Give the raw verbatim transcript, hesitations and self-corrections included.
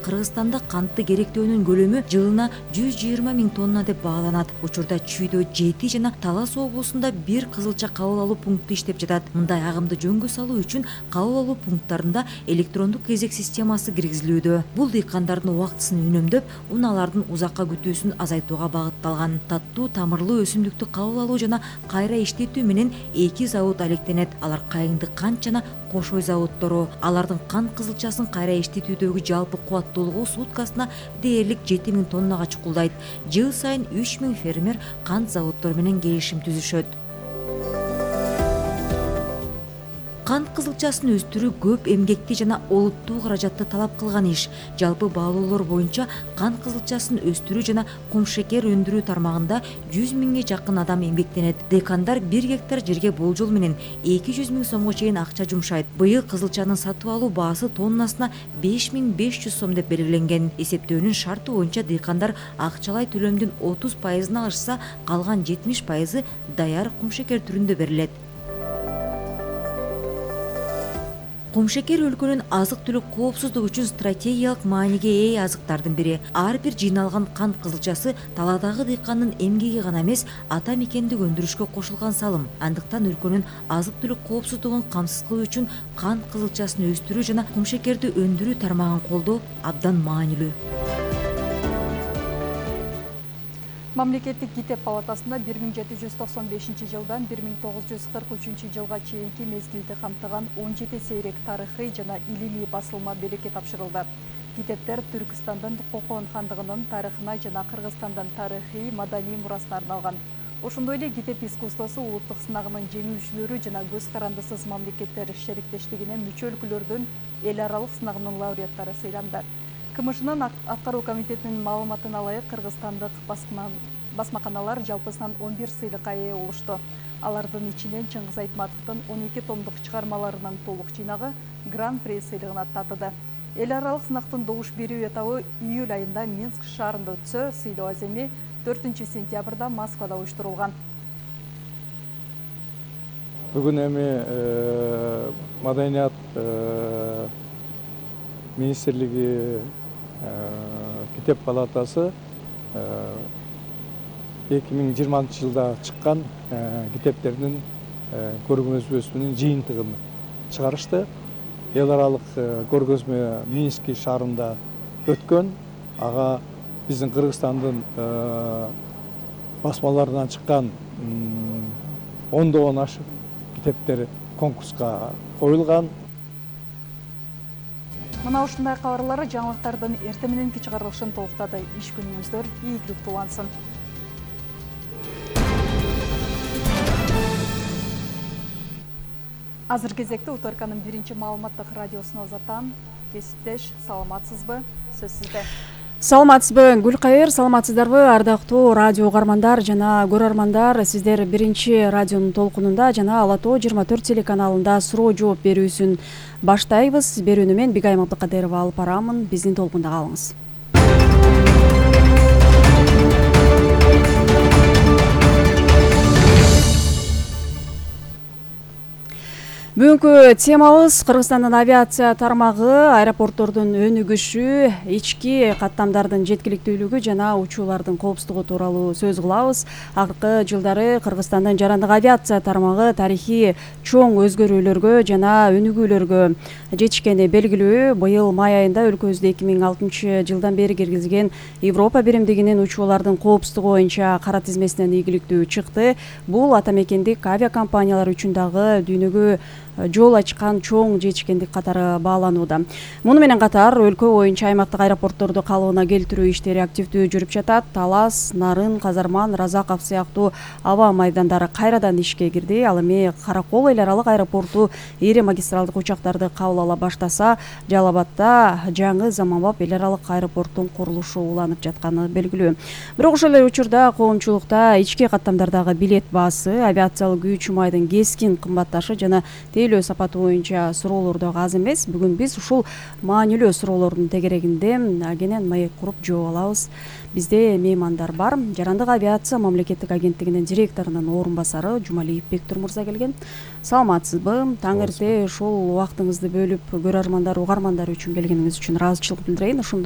Кыргызстанда кантты керектөөнүн көлөмү жылына жүз жыйырма миң тонна деп бааланат. Учурда Чүйдө жети жана Талас облусунда бир кызылча кабыл алуу пункту иштеп жатат. Мындай агымды жөнгө салуу үчүн кабыл алуу пункттарында электрондук кезек системасы киргизилүүдө. Бул дыйкандардын убактысын үнөмдөп, унаалардын узакка күтүүсүн азайтууга багытталган. Таттуу тамырлуу өсүмдүктү кабыл алуу жана кайра иштетүү менен эки завод алектенет. Алар Кайыңды кант жана Кошой заводдору. Алардын кант кызылчасын кайра иштетүүдөгү жалпы кубаттуулугу суткасына дээрлик жети миң тоннага чукулдайт. Жыл сайын үч миң фермер кант заводдору менен келишим түзүшөт. Кант кызылчасын өстүрүү көп эмгекти жана олуттуу каражатты талап кылган иш. Жалпы баалоолор боюнча кант кызылчасын өстүрүү жана кумшекер өндүрүү тармагында жүз миңге жакын адам эмгектенет. Декандар бир гектар жерге болжол менен эки жүз миң сомго чейин акча жумшайт. Быйыл кызылчанын сатып алуу баасы тоннасына беш миң беш жүз сом деп белгиленген. Эсептөөнүн шарты боюнча дыйкандар акчалай төлөмдүн отуз пайызын алышса, калган жетимиш пайызы даяр кумшекер түрүндө берилет. Кумшекер өлкөнүн азык-түлүк коопсуздугу үчүн стратегиялык мааниге ээ азыктардын бири. Ар бир жыйналган кант кызылчасы талаадагы дыйкандын эмгеги гана эмес, ата мекендик өндүрүшкө кошулган салым. Андыктан өлкөнүн азык-түлүк коопсуздугун камсыз кылуу үчүн кант кызылчасын өстүрүү жана кумшекерди өндүрүү тармагын колдоо абдан маанилүү. Мамлекеттик гитеп палатасында бир миң жети жүз токсон бешинчи жылдан бир миң тогуз жүз кырк үчүнчү жылга чейинки мезгилди камтыган он жети сейрек тарыхый жана илимий басылма белекке тапшырылды. Гитептер Түркстандын Кокон хандыгынын тарыхына жана Кыргызстандын тарыхый маданий мурасына арналган. Ошондой эле гитеп искусствосу улуттук сынагынын жеңүүчүлөрү жана көз карандысыз мамлекеттер шериктештигине мүчө өлкөлөрдүн эл аралык сынагынын лауреаттары сыйланды. КМШнын аткаруу комитетинин маалыматына ылайык, кыргызстандык басмаканалар жалпысынан он бир сыйлыкка ээ болушту. Алардын ичинен Чыңгыз Айтматовдун он эки томдук чыгармаларынын толук жыйнагы Гран-при сыйлыгына татыды. Эл аралык сынактын добуш берүү этабы июль айында Минск шаарында өтсө, сыйлоо аземи төртүнчү сентябрда Москвада уюштурулган. Бүгүн эми маданият министрлиги Гитеп палатасы эки миң жыйырманчы жылда чыккан гитептердин көргөзмөсүнүн жыйынтыгын чыгарышты. Эл аралык көргөзмө Минск шаарында өткөн. Ага биздин Кыргызстандын басмаларынан чыккан ондогон ашык гитептер конкурска коюлган. Мына ушундай кабарлары жаңылыктардын эртең мененки чыгарылышын толуктады. Иш күнүңүздөр ийгиликтүү улансын. Азыр кезекте Уторканын биринчи маалыматтык радиосуна узатам. Кесиптеш, саламатсызбы? Сөз сизде. Саламатсызбы, Гүлкайыр, саламатсыздарбы, ардактуу радио угармандар жана көрөрмандар. Сиздер биринчи радионун толкунунда жана Ала Тоо жыйырма төрт телеканалында суроо жооп берүүсүн баштайбыз. Берүүнү мен Бигайым Абдыкадырова алып барамын. Биздин толкунда калыңыз. Бүгүнкү темабыз Кыргызстандын авиация тармагы, аэропорттордун өнүгүшү, ички каттамдардын жеткиликтүүлүгү жана учуулардын коопсуздугу тууралуу сөз кылабыз. Акыркы жылдары Кыргызстандын жарандык авиация тармагы тарыхый чоң өзгөрүүлөргө жана өнүгүүлөргө жетишкени белгилүү. Быйыл май айында өлкөбүздө эки миң алтынчы жылдан бери киргизилген Европа биримдигинин учуулардын коопсуздугу боюнча кара тизмесинен ийгиликтүү чыкты. Бул ата мекендик авиакомпаниялар үчүн дагы дүйнөгө жол ачкан чоң жетишкендик катары бааланууда. Муну менен катар өлкө боюнча аймактык аэропортторду калыбына келтирүү иштери активдүү жүрүп жатат. Талас, Нарын, Казарман, Разаков сыяктуу аба майдандары кайрадан ишке кирди. Ал эми Каракол эл аралык аэропорту ири магистралдык учактарды кабыл ала баштаса, Жалал Абадда жаңы заманбап эл аралык аэропорттун курулушу уланып жатканы белгилүү. Бирок ошол эле учурда коомчулукта ички каттамдардагы билет баасы, авиациялык үч майдын кескин кымбатташы жана деңгээлөө сапаты боюнча суроолор дагы аз эмес. Бүгүн биз ушул маанилүү суроолордун тегерегинде кенен маек куруп жооп алабыз. Бизде меймандар бар. Жарандык авиация мамлекеттик агенттигинин директорунун орун басары Жумалиев Бектур мырза келген. Саламатсызбы? Таң эрте ушул убактыңызды бөлүп көрөрмандар, угармандар үчүн келгениңиз үчүн ыраазычылык билдирейин. Ошондой